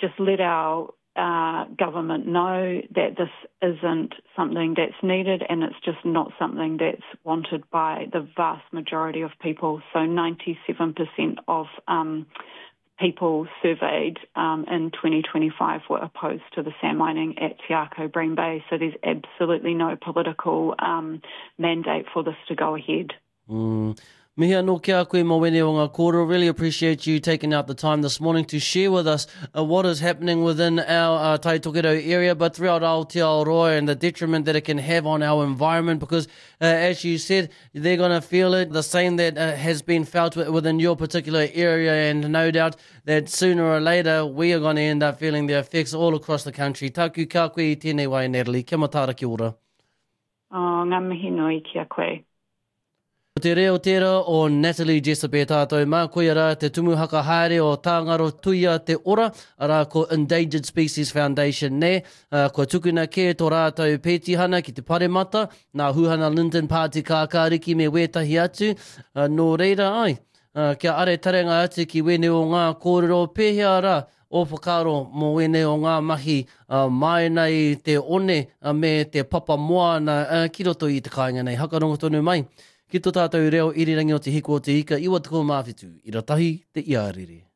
Just let our uh, government know that this isn't something that's needed and it's just not something that's wanted by the vast majority of people. So 97% of um, people surveyed um, in 2025 were opposed to the sand mining at Te Akau Bream Bay. So there's absolutely no political um, mandate for this to go ahead. Mm. Mihi anō ki a koe Mawene o ngā kōrero. Really appreciate you taking out the time this morning to share with us uh, what is happening within our uh, Tai Tokerau area, but throughout Aotearoa and the detriment that it can have on our environment because, uh, as you said, they're going to feel it, the same that uh, has been felt within your particular area, and no doubt that sooner or later we are going to end up feeling the effects all across the country. Taku ka koe i tēnei wai, Natalie. Kia mataara kia ora. Oh, ngā mihi nui ki a koe. Ko te reo tērā o Natalie Jessop e tātou mā, koia rā te tumu haka haere o Tāngaro Tuia Te Ora, arā ko Endangered Species Foundation nē, kua tukuna kē tō rātou pētihana ki te Paremata, nā Huhana Lyndon Pāti Kākāriki me wētahi atu, nō reira ai, kia are tarenga atu ki wēnei o ngā kōrero pēhea rā ō whakaaro mō wēnei o ngā mahi māena i te one me te papa moana ki roto i te kāinga nei. Hakarongo tonu mai ki tō tātou reo irirangi o Te Hiku o Te Ika 97, ira tahi te iarere.